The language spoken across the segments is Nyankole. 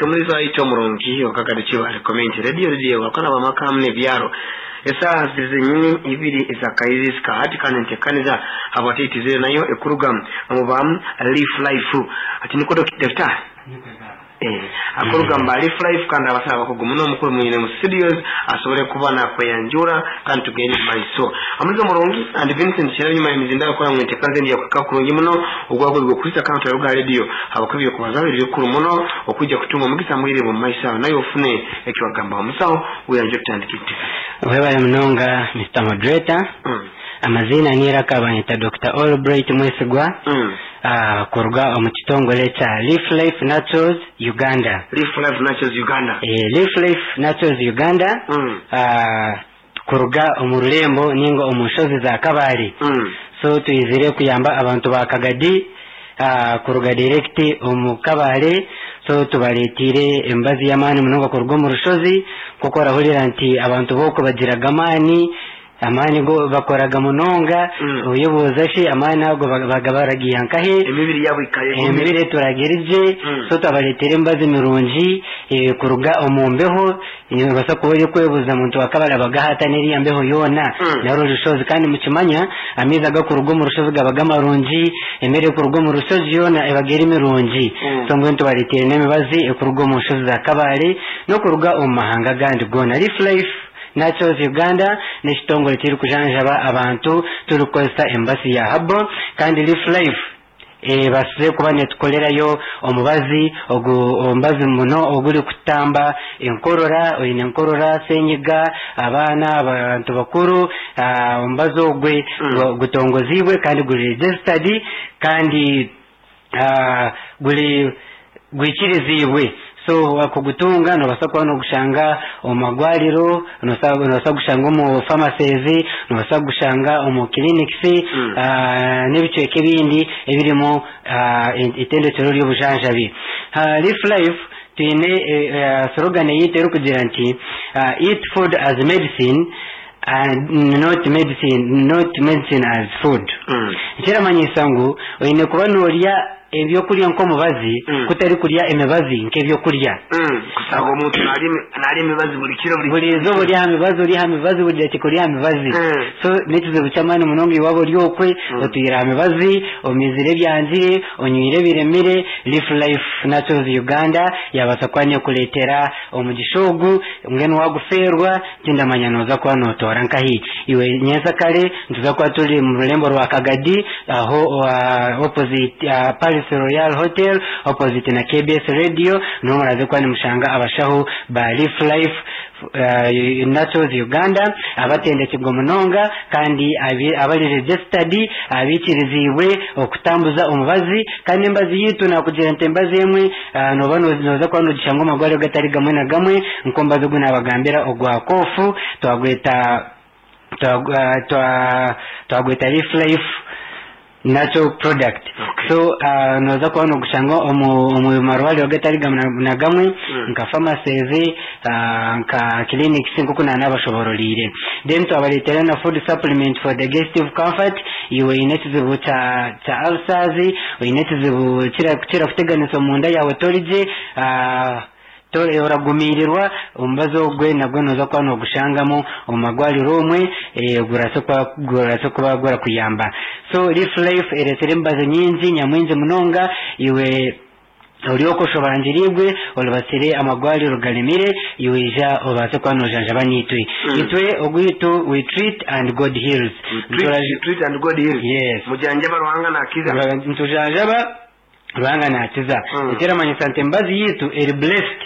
Omulizi waitu omurungi okakade Kibale Community Radio Radio wakona bamaka hamu n'ebyaro esaaha ziri zenyini ibiri ezakairizi hati kandi ntekaniza habwatitizire nayo ekuruga omu ba Leaf Life ati niko daktari akuruga mu ba Leaf Life kandi abasawo abakugu muno omukuru mwine mu studios asobole kuba nakweyanjura kandi tugende mu maiso. Omulizi omurungi and Vincent Kirabye nyuma y'emizinda akora ngu enteekaniza endi yakuhika kurungi muno ogwagwebwa okurisa kandi turaruga radio habwokuba ebyokubazaho biri bikuru muno okwija kutunga omugisa mwire bw'omu maiso aho naye ofune eki wagambaho musaho weyanje tutandike enteekaniza. Webale munonga Mister Moderator. Amaziina n'eiraka banyeta Dokita Albright Mwesigwa kuruga omu kitongore kya Leaf Life Naturals Uganda. Leaf Life Naturals Uganda. Leaf Life Naturals Uganda kuruga omu rurembo ninga omu nshozi za Kabale. So twizire kuyamba abantu ba Kagadi kuruga direct omu Kabale. So tubareteire emibazi y'amaani munonga kuruga omu rushozi nk'oku orahurira nti abantu b'oku bagiraga amaani. Amaani go bakoraga munonga, oyebuuza shi amaani ago baga baragiiha nkahe? Emibiri yaabo ekaba egumire. Emibiri eturaga eri gye, so twabareetera emibazi mirungi kuruga omu mbeho, noobaasa kuba orikwebuuza ngu twakabarabagaho ata n'eriya mbeho yoona nari orushozi kandi mukimanya amaizi agakuruga omu rushozi gaba marungi, emere erikuruga omu rushozi yoona ebaga eri mirungi. So mbwenu tubareeteire n'emibazi erikuruga omu nshozi za Kabale n'okuruga omu mahanga agandi goona. Leaf Life. Naturals Uganda n'ekitongore kirikujanjaba abantu turikukozesa emibazi ya herbal kandi Leaf Life ebaasize kuba netukorerayo omubazi ogu omubazi muno ogurikutamba enkorora, oine enkorora, senyiga, abaana, abantu bakuru, omubazi ogwe gutongoziibwe kandi guri registered kandi guri gwikiriziibwe. So kugutunga noobaasa kuba noogushanga omu marwariro, noobaasa kugushanga omu pharmacies, noobaasa kugushanga omu clinics n'ebicweka ebindi ebirimu eitendekyero ry'obujanjabi. Leaf Life twine slogan eyaitu erikugira nti eat food as medicine and not medicine not medicine as food. Ekiramanyisa ngu oine kuba noorya ebyokurya nk'omubazi kutari kurya emibazi nk'ebyokurya. Kushanga omuntu naarya emibazi buri kiro buri Buri izooba ori aha mibazi ori aha mibazi buri dakiika ori aha mibazi. So n'ekizibu ky'amaani munonga iwe waaba ori okwe otwire aha mibazi, omizire ebyangire, onywire ebiremire, Leaf Life Naturals Uganda yaabaasa kuba neekureetera omugisha ogu mbwenu waagufeerwa Tindamanya nooza kuba nootoora nkahi. Iwe nyentsakare nituza kuba turi omu rurembo rwa Kagadi aho opposite Paris Royal Hotel opposite na KBS Radio niho muraaze kuba nimushanga abashaho ba Leaf Life Naturals Uganda abatendekirwe munonga kandi abari registered abaikiriziibwe okutambuza omubazi kandi emibazi yaitu naakugira nti emibazi emwe Nooba nooza kuba noogishanga omu marwariro gatari gamwe na gamwe, nk'omubazi ogu naabagambira ogwa kofu twagweta twagweta Leaf Life Natural Product. So nooza kuba noogushanga omu marwariro gatari gamwe na gamwe nka pharmacies, nka clinics nk'oku naanabashoboororeire. Then twabareetera na food supplement for digestive comfort, iwe oine ekizibu kya kya ulcers, oine ekizibu kirakuteganisa omunda yaawe tori gye, oragumiirirwa, omubazi ogwe nagwo nooza kuba noogushangamu omu marwariro omwe, gurabaasa kuba gurakuyamba. So Leaf Life ereetsire emibazi nyingi nyamwingi munonga, iwe Ori okwo oshobangiriibwe, oribatsire amagwariro garemire, iwe ija obaase kuba nojanjaba naitwe. Itwe ogwaitu we treat and God heals. You treat, you treat and God heals. Yes. Mujanjaba Ruhanga nakiza. Nitujanjaba Ruhanga nakiza. Ekiramanyisa nti emibazi yaitu eri blessed.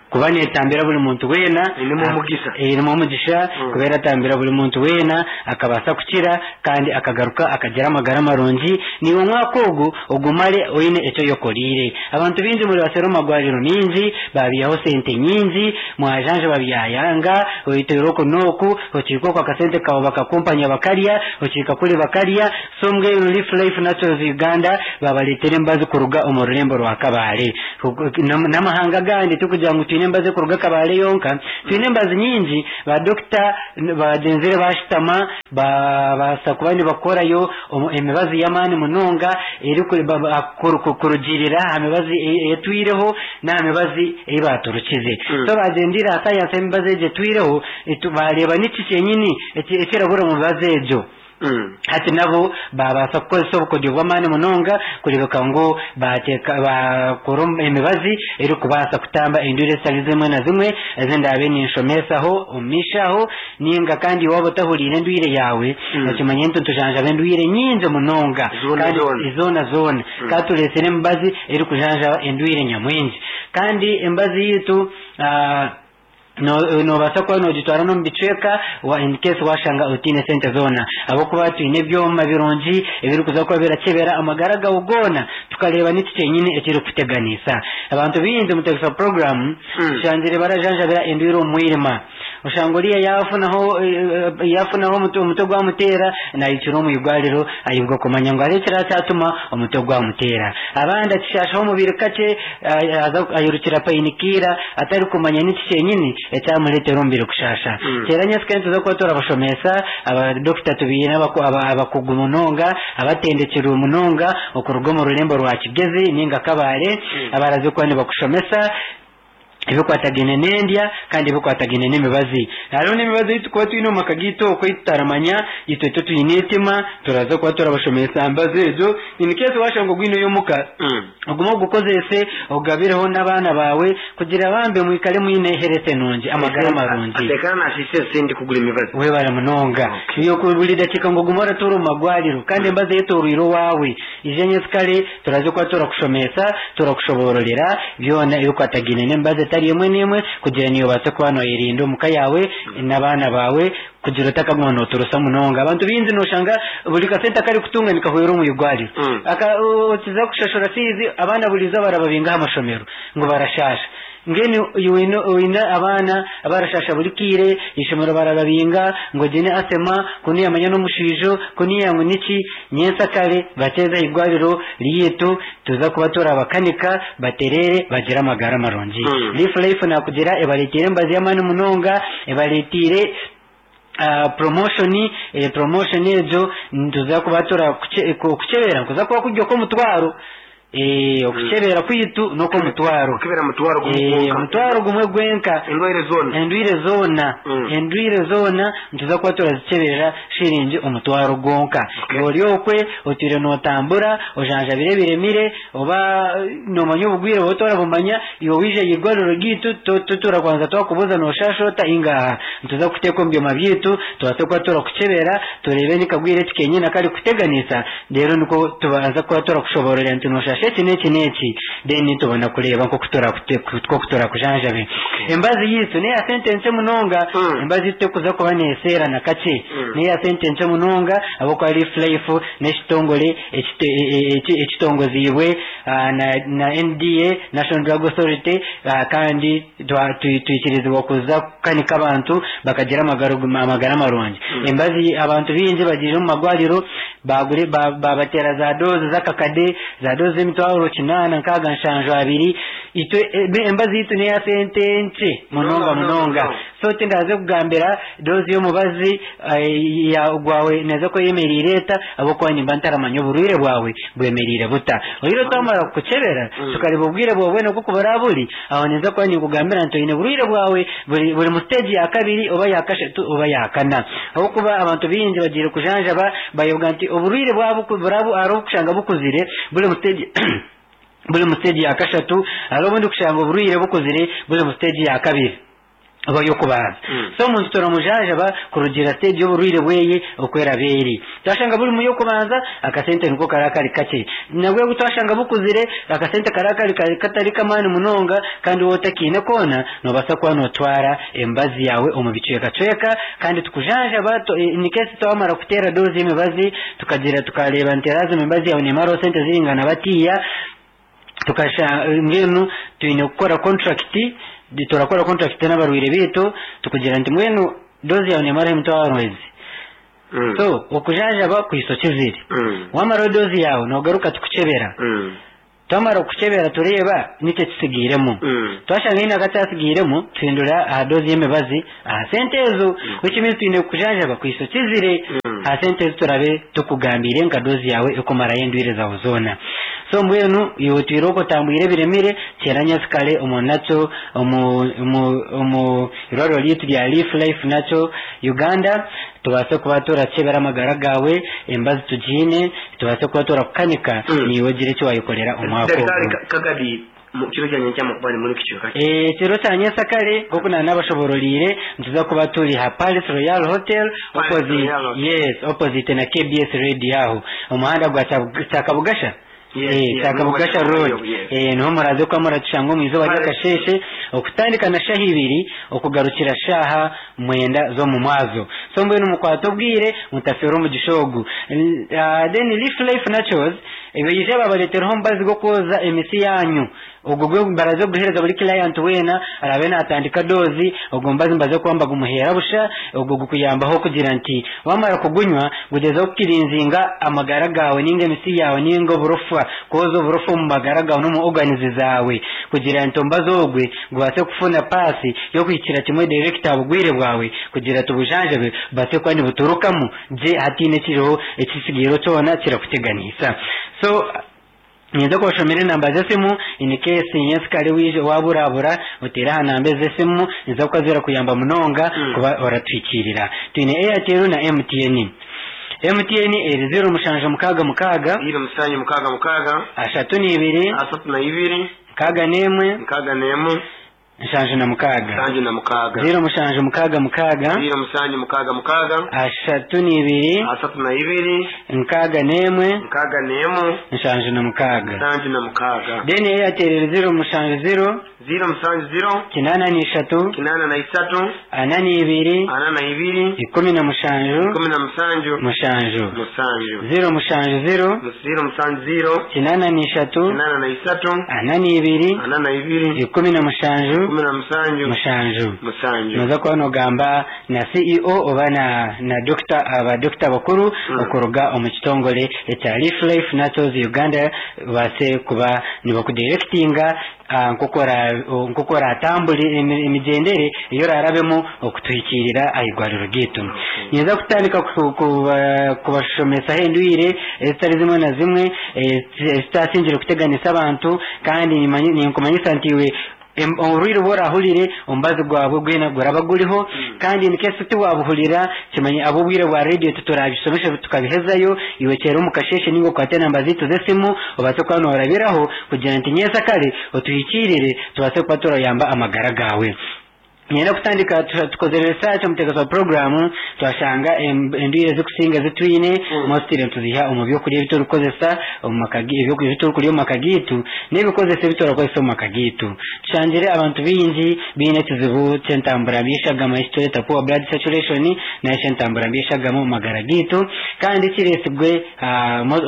Kuba neetambira buri muntu weena. Erimu omugisha. Erimu omugisha kuba eratambira buri muntu weena akabaasa kukira kandi akagaruka akagira amagara marungi. Naiwe omwaka ogu ogumare oine eki oyekoreire. Abantu baingi muri baseera omu marwariro maingi, baabiihaho sente nyingi, mwajanjaba byayanga, oyeteire oku n'oku, okiika oku akasente kaawe bakakumpanya bakarya, okiika kuri bakarya. So mbwenu Leaf Life Naturals Uganda baabareetera emibazi kuruga omu rurembo rwa Kabale. N'amahanga agandi tikugira ngu twine. twine embazi ekuruga Kabale yonka, twine embazi nyingi ba dokita bagyenzire bashutama babaasa kuba nibakorayo emibazi y'amaani munonga erikurugiirira aha mibazi etwireho n'aha mibazi ei baaturukize. So bagyendire aha sayansi y'emibazi egyo etwireho baareeba niki kyenyini ekirabura omu mibazi egyo. Hati nabo baabaasa kukozesa obukodyo bw'amaani munonga kureebeka ngu baateeka baakora emibazi erikubaasa kutamba endwara ezitari zimwe na zimwe ezi ndaabe ninshomesaho omu maisho aho nainga kandi waaba otahuriire endwire yaawe okimanye nti nitujanjaba endwire nyingi munonga Zoona kandi zoona. zoona zoona kandi tureetsire emibazi erikujanjaba endwire nyamwingi kandi emibazi yaitu ah, Noobaasa kuba noogitwara n'omu bicweka in case waashanga otaine sente zoona. Ahabw'okuba twine ebyoma birungi ebirikuza kuba birakyebera amagara gaawe goona tukareeba niki kyenyini ekirikukuteganisa. Abantu baingi omu Tegesa Program tushangire barajanjabira endwaire omu mwirima. Oshanga oriya yaafunaho yaafunaho omutwe gwamuteera naayikira omu irwariro ayebwa kumanya ngu hariho ekiraakyatuma omutwe gwamuteera. Abandi akishaashaho omubiri kakye Aza ayirukira painikira atarikumanya niki kyenyini ekyamureetera omubiri kushaasha. Kyera nyentsya nituza kuba turabashomesa, abadokita tubaine abakugu munonga, abatendekirwe munonga okuruga omu rurembo rwa Kigezi ninga Kabale abaraze kuba nibakushomesa ebikwatagaine n'endya kandi ebikwatagaine n'emibazi. Hariho n'emibazi ei turikuba twine omu maka gaitu okwo ei tutaramanya, itwe titwine eitima, turaza kuba turabashomesa aha mibazi egyo in case waashanga ogwineyo omuka. Ogume ogukozese, ogugabireho n'abaana baawe, kugira bambe mwikare mwine health nungi, amagara marungi. Atekana nasiisa esente kugura emibazi. Webare munonga. Iwe ku buri dakiika ngu ogume oratuura omu magwariro kandi embazi eyetooroire owaawe. Ija nyensikare turaze kuba turakushomesa, turakushoboororera byona ebikwatagaine n'emibazi etari emwe n'emwe kugira naiwe obaase kuba nooyerinda omuka yaawe n'abaana baawe. Kugira otakaguma noturusa munonga. Abantu baingi noshanga buri kasente akarikutunga nikahwera omu igwariro. Aka okiza kushashura fiizi abaana buri izooba barababinga aha mashomero ngu barashaasha. Mbwenu iwe oine oine abaana abarashaasha buri kaire, eishomero barababinga ngu egi ni asema, kunu yamanya n'omushwijo, kunu ngu niki. Nyentsakare bateeze aha igwariro ryaitu tuza kuba turabakanika batereere bagire amagara marungi. Leaf Life nakugira ebareteire emibazi y'amaani munonga, ebareteire promotion, promotion egyo nituza kuba turakukyebera nikuza kuba kuri okw'omutwaro, okukyebera kwaitu n'okw'omutwaro. Okukebera mutwaro gumwe gwonka. Omutwaro gumwe gwenka. Endwaire zoona. Endwaire zoona, endwaire zoona nituza kuba turazikyeberera shiringi omutwaro gwonka. Ori okwe otwire nootambura ojanjabire ebiremire oba noomanya obugwire oba otarabumanya, iwe waija aha irwariro ryaitu titurakubanza twakubuuza nooshaasha ota ingaha. Nituza kukuteeka omu byoma byaitu tubaase kuba turakukyebera tureebe ni kagwire ki kenyini akarikukuteganisa reero nikwo tubanza kuba turakushoboororera nti nooshaasha eki n'eki n'eki then tubona kureeba nk'oku turakujanjabe. Emibazi yaitu n'eya sente nkye munonga, emibazi yaitu terikuza kuba neeseera na kakye. N'eya sente nkye munonga ahabw'okuba Leaf Life n'ekitongore ekitongoziibwe na NDA, National Drug Authority, kandi twikirizibwa kuza kukanika abantu bakagira amagara marungi. Emibazi abantu baingi bagiire omu marwariro baabateera za doozi z'akakade, za doozi z'emitwaro kinaana, nkaaga, nshanju, abiri. Itwe emibazi yaitu n'eya sente nkye munonga munonga. So tindaaze kugambira doozi y'omubazi gwawe neeza kuba eyemereire eta ahabw'okuba nimba ntaramanya oburwaire bwawe bwemereire buta. Oyihireho twamara kukukyebera tukareeba obwire bwawe bwena nk'oku buraabe buri, aho ninza kuba ninkugambira nti oine burwaire bwawe buri buri mu siteegi ya kabiri oba ya kashatu oba ya kana. Ahabw'okuba abantu baingi bagiire kujanjaba bayoga nti oburwaire bwabo ku buraabe hariho obukushanga bukuzire buri mu siteegi buri mu siteegi ya kashatu, hariho obundi kushanga oburwaire bukuzire buri mu siteegi ya kabiri. Oba y'okubanza. So omuntu turamujanjaba kurugiirira siteegi y'oburwaire bweye oku eraba eri. Twashanga buri mu y'okubanza, akasente niko karaba kari kakye. Nabwe obu twashanga bukuzire, akasente karaba kari katari k'amaani munonga kandi waaba otakiine koona, noobaasa kuba nootwara emibazi yaawe omu bicwekacweka kandi tukujanjaba in case twamara kuteera doozi y'emibazi tukagira tukareeba nti lazima emibazi yaawe neemaraho sente ziringana batiiya, tukasha mbwenu twine kukora contract turakora contract n'abarwaire baitu tukugira nti mbwenu doozi yaawe neemaraho emitwaro ezi so okujanjaba kwisa okizire wamaraho doozi yaawe noogaruka tukukyebera. Twamara kukukyebera tureeba niki ekisigairemu. Twashanga haine akakyatsigairemu, tuhindura aha doozi y'emibazi aha sente ezo. Which means twine kukujanjaba kuhitsya okizire aha sente ezi turabe tukugambiire nka doozi yaawe ekumarayo endwaire zaawe zoona. So mbwenu iwe otwire okwo otambwire ebiremire, kyera nyensikare omu nakyo omu omu omu irwariro ryaitu rya Leaf Life Natural Uganda tubaase kuba turakyebera amagara gaawe, emibazi tugiine, Tubaase kuba turakukanika, naiwe ogire eki waayekorera omwaka Daktari ogu. Kagadi, mu kiro kya nyenkya mukuba ni muri kicweka ki? Ekiro kya nyensakare nk'oku naanabashobororiire, nituza kuba turi ha Palace Royal Hotel, Palace opposite, Royal Hotel. yes, opposite na KBS Radio aho. Omuhanda gwa Kya- Kyakabugasha? Yes, Eh, yes, Kyakabugasha niho Road. yes. Eh, niho muraze kuba muratushanga omu izooba Palace. ry'akasheeshe, okutandika na shaha ibiri okugarukira shaaha mwenda z'omu mwazo. So mbwenu mukwate obwire mutafeerwa omugisha ogu. Then Leaf Life Naturals baije babareetereho omubazi gw'okwoza emisi yaanyu. Ogwo gwe baraze kuguheereza buri client weena araabe naatandika doozi, ogwo mubazi nibaza kuba nibagumuheera busha, ogwo gukuyambaho kugira nti waamara kugunywa gugyezeho kukirinzinga amagara gaawe nainga emisi yaawe nainga oburofa, kwoza oburofa omu magara gaawe n'omu organs zaawe kugira nti omubazi ogwe gubaase kufuna paasi y'okuhikira kimwe direct aha bugwire bwawe kugira nti obujanjabi bubaase kuba nibuturukamu gye hataine ekiriho ekitsigaireho kyona kirakuteganisa. So ninza kubashomera enamba z'esimu in case nyensikare waija waburabura oteere aha namba ezi z'esimu niziza kuba zirakuyamba munonga kuba oratuhikiirira. Twine Airtel na MTN. MTN eri 0766 0766 32 32 61 61 76. 76. 0766 0766 32 32 61 61 76. 76. Then Airtel eri 070 070 83 83 42 42 17 17 7 7 070 070 83 83 42 42 17 17 7. 7. Noza kuba nogamba na CEO oba na na doctor aba doctor bakuru okuruga omu kitongore ekya Leaf Life Naturals Uganda babaase kuba nibakudirectinga nk'oku ora nk'oku oratambure emigyendere ei orarabemu okutuhikiirira aha irwariro ryaitu. Ninza kutandika kubashomesaho endwire ezitari zimwe na zimwe ezitasingire kuteganisa abantu kandi ninkumanyisa nti iwe Oburwaire obu orahurire omubazi gwabwo gwena guraba guriho kandi in case tiwabuhurira kimanye ab'obwire bwa radio titurabishomesa tukabihezayo iwe kyera omu kasheeshe ninga okwate enamba zaitu z'esimu obaase kuba norabiraho kugira nti nyensakare otuhikiirire tubaase kuba turayamba amagara gaawe. Niinyenda kutandika tukozire research omuteekateeki wa puroguraamu twashanga endwaire ezirikusinga ezi twine mostly nituziiha omu by'okurya ebi turikukozesa omu maka ebyokurya ebi turikurya omu maka gaitu n'ebikozesa ebi turakozesa omu maka gaitu. Tushangire abantu baingi baine ekizibu ky'entambura mbi y'eshagama eki tureeta poor blood circulation nari shi entambura mbi y'eshagama omu magara gaitu kandi kireetsirwe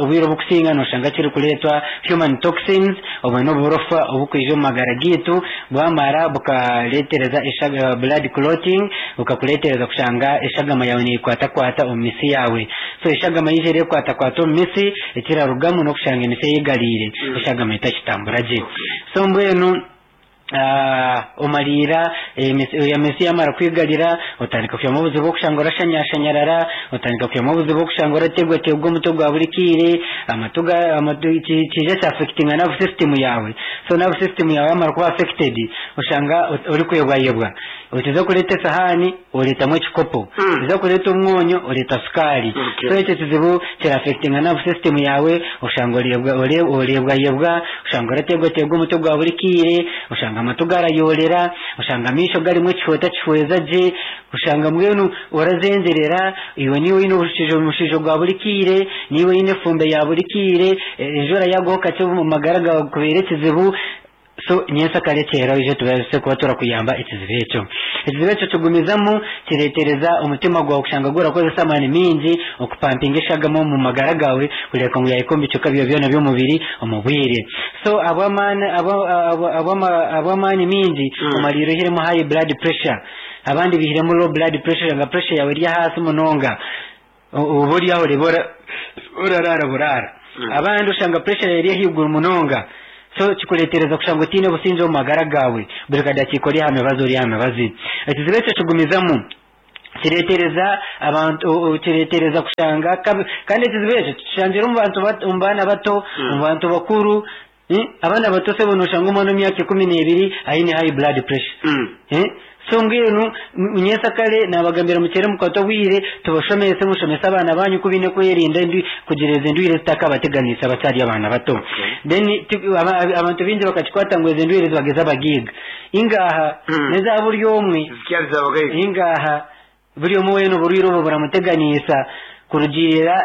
obwire oburikusinga nooshanga kirikureetwa human toxins obwo n'oburofa oburikwija omu magara gaitu bwamara bukareetereza blood clotting bukakureetereza kushanga eshagama yaawe neekwatakwata omu mitsi yaawe. So eshagama yaija ereekwatakwata omu mitsi, ekirarugamu n'okushanga emitsi eyegariire, eshagama etakitambura gye. So mbwenu omariira emitsi yaamara kwigarira, otandika kwihamu obuzibu bw'okushanga orashanyashanyarara, otandika kwihamu obuzibu bw'okushanga orategwategwa omutwe gwa buri kaire, amatu amatu kiija kya affectinga nerve system yaawe. So nerve system yaawe yaamara kuba affected, oshanga orikwebwayebwa. Otiza kureeta esahaani, oreetamu ekikopo. Otiza kureeta omwonyo, oreeta sukaari. So ekyo kizibu kira affectinga nerve system yaawe, oshanga oreebwayebwa, oshanga orateegwateegwa omutwe gwa buri kaire, oshanga amatu garayoorera, oshanga amaisho garimu ekihwa otakihweza gye, oshanga mbwenu orazengyerera, iwe niiwe oine omushaija gwa buri kaire, niiwe oine efumbe ya buri kaire, enjura yaagwaho kakye omu magara gaawe kubeera ekizibu. So nyentsakare kyera oije tubaase kuba turakuyamba ekizibu ekyo. Ekizibu ekyo kigumizamu kireetereza omutima gwawe kushanga gurakozesa amaani maingi okupampinga eshagama omu magara gaawe kureebeka ngu yaahika omu bicweka byawe byona by'omubiri omu bwire. So ahabw'amaani ahabw'amaani maingi omariire oihiremu high blood pressure. Abandi baihiremu low blood pressure oshanga pressure yaawe eri ahaasi munonga. Oba ori aho oreeba oraraara buraara. Abandi oshanga pressure eri ahaiguru munonga. So kikureetereza kushanga otaine busingye omu magara gaawe, buri kadakiika ori aha mibazi ori aha mibazi. Ekizibu ekyo kigumizamu kireetereza abantu kireetereza kushanga kandi ekizibu ekyo tukishangire omu bantu omu baana bato, omu bantu bakuru. Abaana bato sebo noshanga omwana w'emyaka 12 aine high blood pressure. So mbwenu nyensakare nabagambira mukyere mukwate obwire tubashomese mushomese abaana banyu oku baine kwerinda kugira ezi ndwire ezitakabateganisa bakyari abaana bato. Then abantu baingi bakakikwata ngu ezi ndwire zibaga ez'abagaiga. Ingaha neza buri omwe. Ingaha Buri omwe weena oburwaire obwo buramuteganiisa kurugiirira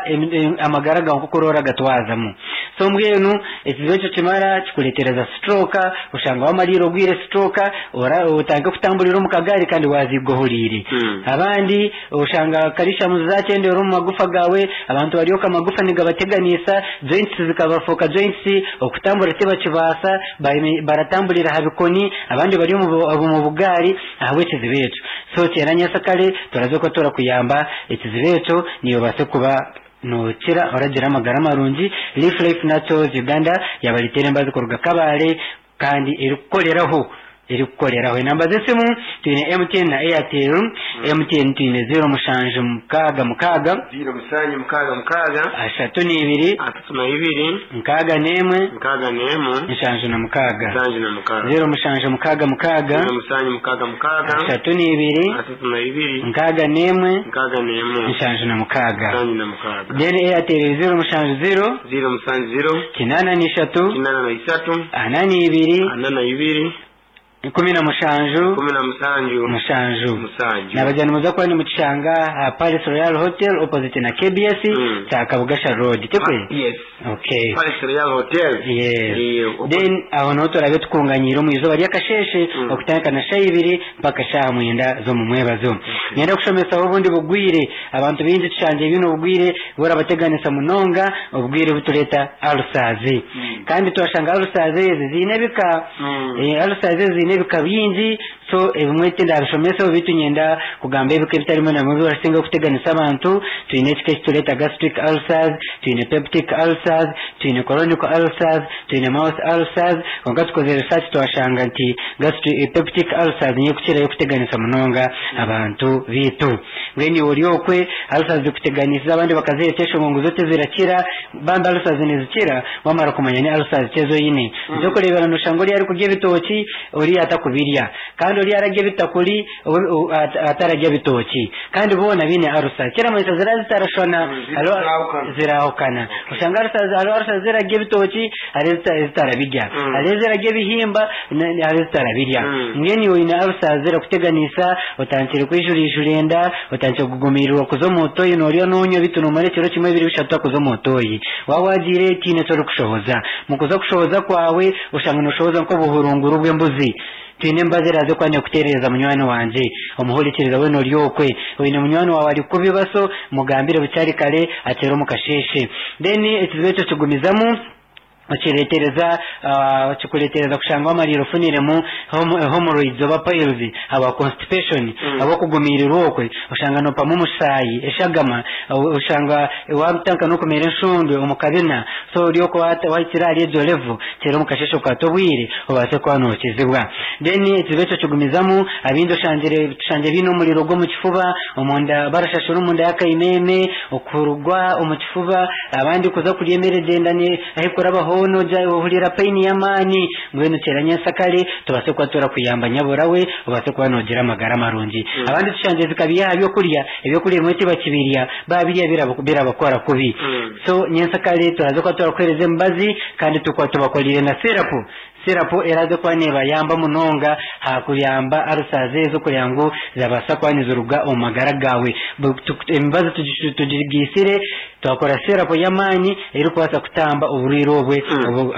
amagara gaawe nk'oku oraba oragatwazamu. So mbwenu ekizibu ekyo kimara kikureetereza stroke, oshanga wamariire obwire stroke, otandike kutamburira omu kagaari kandi waaziigwa ohuriire. Abandi oshanga calcium zaakyendeera omu magufa gaawe, abantu bari okwo amagufa nigabateganiisa, joints zikabafuuka joints, okutambura tibakibaasa, baratamburira aha bikoni, abandi bari omu bugaari ahabw'ekizibu ekyo. So kyenda nyesakare turaza kuba turakuyamba ekizibu ekyo niiwe obaase kuba nokira oragira amagara marungi. Leaf Life Naturals Uganda yabaretera embazi kuruga Kabale kandi erikukoreraho erikukoreraho. Enamba z'esimu twine MTN na Airtel. MTN twine 0766. 0766. 32. 32. 61. 61. 76. 76. 0766. 0766. 32. 32. 61. 61. 76. 76. Then Airtel 070. 070. 83. 83. 42. 42. 17. 17. 7. 7. Nabagira nimuza kuba nimukishanga aha Palace Royal Hotel opposite na KBS kya Kabugasha Road. Tikwe? Yes. Okay. Palace Royal Hotel. Yes. Eh, Then aho niho turabe tukunganyiire omu izooba ry'akasheeshe okutandika na shaaha ibiri mpaka shaaha 9 z'omu mwebazo. Niinyenda kushomesaho obundi bugwire. Abantu baingi tushangire bwine obugwire burabateganisa munonga, obugwire obutureeta ulcers. Kandi twashanga ulcers ezi ziine ebika. Ulcers ezi ziine ebika bingi, so ebimwe tindabishomesaho beitu niinyenda kugamba ebika ebitari bimwe na bimwe ebirasinga kuteganisa abantu. Twine ekika ekitureeta gastric ulcers, twine peptic ulcers, twine chronic ulcers, twine mouth ulcers. Kwonka tukozire research twashanga nti gastric peptic ulcers niyo ekukirayo kuteganisa munonga abantu beitu. Mbwenu iwe ori okwe ulcers zikuteganisize abandi bakazireeta eshonga ngu zo tizirakira, bambi ulcers nizikira wamara kumanya ni ulcers ki ezi oine. Eky'okureebera noshanga oriya arikurya ebitookye oriya atakubirya kandi oriya ararya ebitakuri atararya bitookye kandi boona baine ulcers. Kiramanyisa ziraba zitarashwana zirahukana. Oshanga ulcers hariho ulcers ezirarya ebitookye hariho ezitarabirya. Hariho ezirarya ebihimba hariho ezitarabirya. Mbwenu iwe oine ulcers zirakuteganisa otandikire kwijurijura enda, otandikire kugumirirwa kuza omu toyi norya nonywa beitu nomara ekiro kimwe bibiri bishatu otakuza omu toyi. Waaba wagiire tihaine eki orikushohoza. Mukuza kushohoza kwawe oshanga noshohoza nk'obuhurunguru bw'embuzi. Twine emibazi eraaze kuba neekuteerereza munywani wangye. Omuhurikiriza weena ori okwe, oine munywani waawe ari kubi baso, mugambire bukyari kare akyere omu kasheeshe. Then ekizibu ekyo kigumizamu okireetereza kikureetereza kushanga wamariire ofuniremu hemorrhoids oba piles ahabwa constipation ahabw'okugumiirirwa okwe oshanga nopamu omushayi eshagama oshanga watandika n'okumera enshundwe omu kabina. So ori okwo wahikire ahari egyo level kyera omu kasheeshe okwate obwire obaase kuba nookizibwa. Then ekizibu ekyo kigumizamu abindi oshangire tushangire biine omuriro gw'omu kifuba omunda barashashura omunda y'akaimeme okurugwa omu kifuba abandi kuza kurya emere gyenda ahi kuraba hoona ogya ohurira pain y'amaani. Mbwenu kyera nyensakare tubaase kuba turakuyamba nyabura we obaase kuba noogira amagara marungi. Abandi tushangire zikabiiha aha byokurya, ebyokurya ebimwe tibakibirya babirya birabakora kubi. So nyensakare turaza kuba turakuheereza emibazi kandi tukuba tubakorire na syrup. Syrup eraza kuba nebayamba munonga aha kuyamba ulcers ezo kugira ngu zirabaasa kuba niziruga omu magara gaawe. Emibazi tugigiisire twakora syrup y'amaani erikubaasa kutamba oburwaire obwe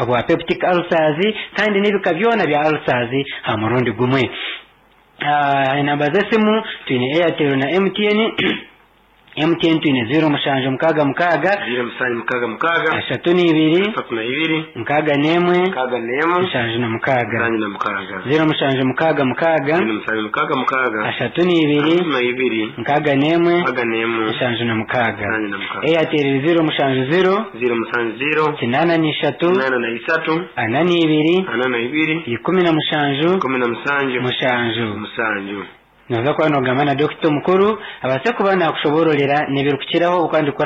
obwa peptic ulcers kandi n'ebika byona bya ulcers aha murundi gumwe. Enamba z'esimu twine Airtel na MTN. MTN twine 0766 0766 32 32 61 61 76 76 0766 0766 32 32 61 61 76 76 Airtel 070 070 83 83 42 42 17 17 7 7. Noza kuba nogamba na dokita omukuru abaase kuba nakushobororera n'ebirikukiraho okwandikora.